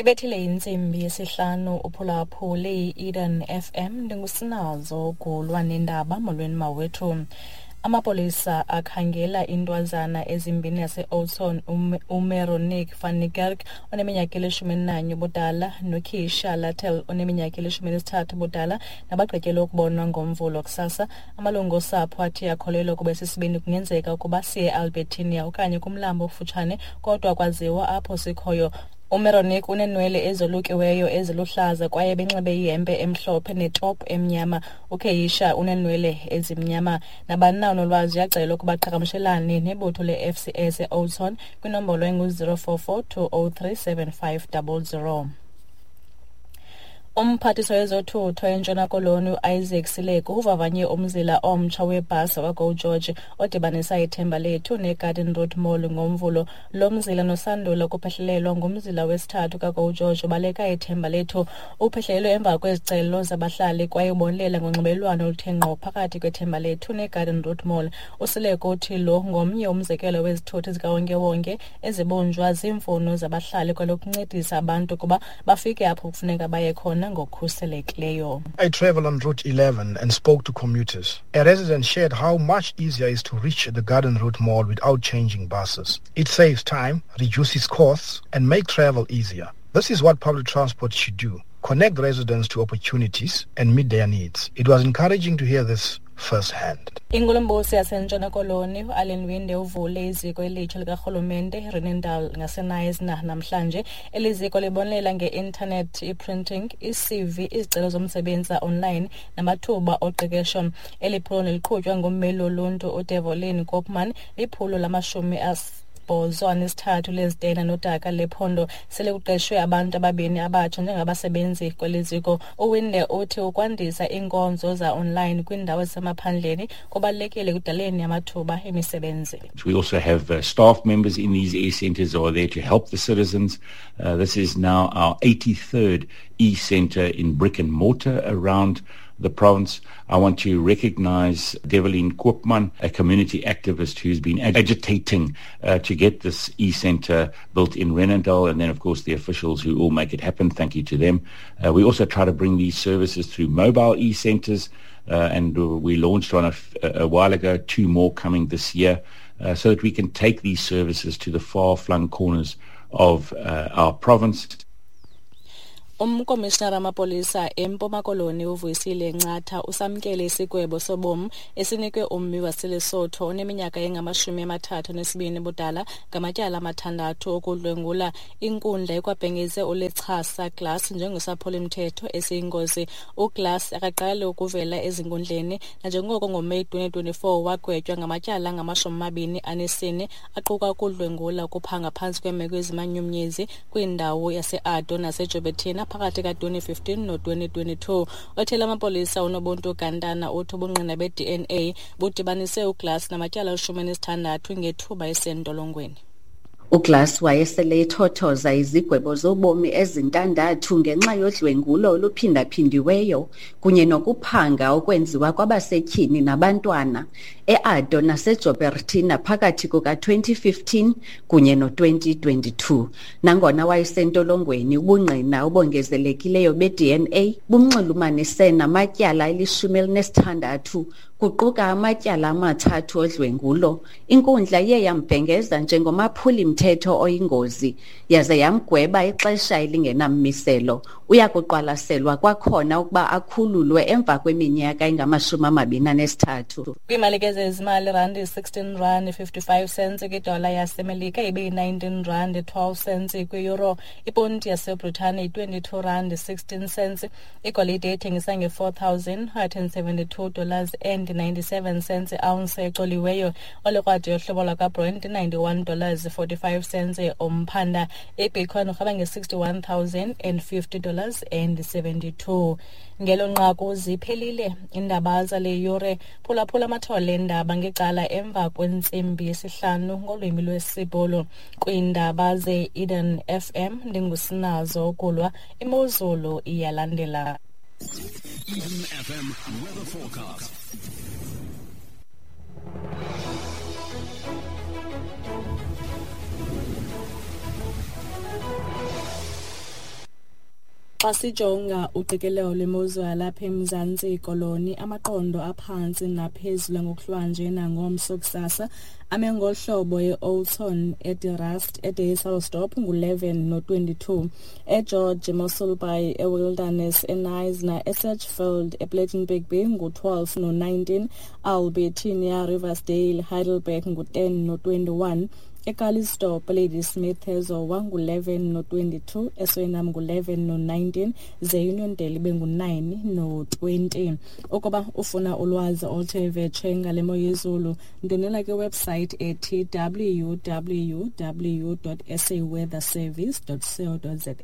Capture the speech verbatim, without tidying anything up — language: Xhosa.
Ibethile intsimbi yesihlanu uphulaphule i-Eden F M. Ndingusinazo Gulwa nendaba. Molweni mawethu. Amapolisa akhangela intwazana ezimbini yase-Oudtshoorn, uMeronique van Niekerk oneminyaka elishumi elinanye ubudala noKeisha Lattel oneminyaka elishumi elisithathu ubudala nabagqityelwe ukubonwa ngoMvulo kusasa. Amalungu osapho athi akholelwa ukuba esi sibini kungenzeka ukuba siye e-Albertinia okanye kumlambo okufutshane, kodwa kwaziwa apho sikhoyo. UMeronique uneenwele ezolukiweyo eziluhlaza kwaye benxibe ihempe emhlophe netop emnyama. UKeisha uneenwele ezimnyama. Nabani na onolwazi uyacelwa ukuba aqhagamshelane nebutho le-F C S e-Oudtshoorn kwinombolo engu-zero four four two oh three seven five double zero. Umphathiswa wezothutho eNtshona Koloni uIsaac Sileku uvavanye umzila omtsha webhasi wakwaGo George odibanisa iThemba Lethu neGarden Road Mall ngoMvulo. Lo mzila nosandula ukuphehlelelwa ngumzila wesithathu kaGo George ubaleka iThemba Lethu. Uphehlelelwe emva kwezicelo zabahlali kwaye ubonelela ngonxibelelwano oluthe ngqo phakathi kweThemba Lethu neGarden Road Mall. USileku uthi lo ngomnye umzekelo wezithuthi zikawonkewonke ezibunjwa ziimfuno zabahlali kwalokuncedisa abantu ukuba bafike apho kufuneka baye khona ngokukhuselekileyo. I travel on Route eleven and spoke to commuters. A resident shared how much easier it is to reach the Garden Route Mall without changing buses. It saves time, reduces costs, and makes travel easier. This is what public transport should do. Connect residents to opportunities and meet their needs. It was encouraging to hear this firsthand. Inkulumbuso yaseNtshona Koloni uAllan Winde uvule iziko elitsha likarhulumente Rheenendal ngaseKnysna namhlanje. Eli ziko libonelela nge-internet, i-printing, i-C V, izicelo zomsebenzi online namathuba oqeqesho. Eli phulo liqhutywa ngummeli woluntu uDevolin Koopman. Liphulo lamashumi asibhozo anesithathu lezitena nodaka lephondo. Sele kuqeshwe abantu ababini abatsha njengabasebenzi kweli ziko. UWinde uthi ukwandisa iinkonzo za-online kwiindawo ezisemaphandleni kubalulekile ekudaleni amathuba emisebenzi. We also have, uh, staff members in these e-centers who are there to help the citizens. Uh, this is now our eighty-third e-center in brick and mortar around the province. I want to recognize Develin Koopman, a community activist who's been agitating, uh, to get this e-center built in Rheenendal, and then, of course, the officials who all make it happen. Thank you to them. Uh, we also try to bring these services through mobile e-centers, uh, and we launched one a, f-, a while ago, two more coming this year, uh, so that we can take these services to the far-flung corners of, uh, our province. Umkomishinara wamapolisa eMpuma Koloni uVuyisile Ncatha usamkele isigwebo sobomi esinikwe ummi waseLesotho oneminyaka engamashumi amathathu anesibini ubudala ngamatyala amathandathu okudlwengula. Inkundla ikwabhengeze uLechasa Glass njengesaphulimthetho esiyingozi. UGlass akaqali ukuvela ezinkundleni nanjengoko ngoMeyi twenty twenty-four wagwetywa ngamatyala angamashumi amabini anesine aquka ukudlwengula, ukuphanga phantsi kweemeko ezimanyumnyezi kwindawo yaseAddo naseJouberton phakathi ka-twenty fifteen no-twenty twenty-two. Othela amapolisa uNobuntu Gantana uthi ubungqina be-D N A budibanise uGlass namatyala alishumi elinesithandathu ngethuba esentolongweni. UGlass wayesele ethothoza izigwebo zobomi ezintandathu ngenxa yodlwengulo oluphindaphindiweyo kunye nokuphanga okwenziwa kwabasetyhini nabantwana e-Addo naseJouberton phakathi kuka-twenty fifteen kunye no-twenty twenty-two. Nangona wayesentolongweni, ubungqina obongezelekileyo be-D N A bumnxulumanise namatyala elishumi elinesithandathu kuquka amatyala amathathu odlwengulo. Inkundla iye yambhengeza njengomaphuli-mthetho oyingozi yaze yamgweba ixesha elingenammiselo. Uya kuqwalaselwa kwakhona ukuba akhululwe emva kweminyaka engamashumi amabini anesithathu. Kwiimali ke zezimali, randi sixteen rand fifty-five cents kwidola yaseMelika ibe yi-nineteen rand twelve cents kwi-euro. Iponti yaseBritane yi-twenty-two rand sixteen cents. Igolide ethengisa nge-four thousand hundred and seventy-two dollars and ninety-seven cents ounce ecoliweyo. Olikrwada yohlobo lwakwaBrent ninety-one dollars forty-five cents umphanda. IBitcoin urhaba nge-sixty-one thousand and fifty dollars and seventy-two. Ngelo nqaku ziphelile iindaba zale yure. Phulaphula amathole eendaba ngecala emva kwentsimbi yesihlanu ngolwimi lwesiBhulu. Kwiindaba ze-Eden F M ndingusinazo Kulwa. Imozulu iyalandela. Eden F M weather forecast. Xa sijonga uqikelelo lwemozulu yalapha eMzantsi Koloni, amaqondo aphantsi naphezulu ngokuhlwanje nangomso kusasa ame ngolu hlobo: e-Oudtshoorn, eDe Rust, eDysselsdorp ngu-eleven no-twenty-two, eGeorge, eMossel Bay, eWilderness, eKnysna, eSedgefield, ePlettenberg Bay ngu-twelve no-nineteen, Albertinia, Riversdale, Heidelberg ngu-ten no-twenty-one, eCalitzdorp, Ladysmith, eZowa ngu-eleven no-twenty-two, eSuriname ngu-eleven no-nineteen, ze Uniondale ibe ngu-nine no-twenty. Ukuba ufuna ulwazi oluthe vetshe ngale mo yezulu, ndwendwela kwiwebsite ethi w w w dot s a weather service dot co dot za.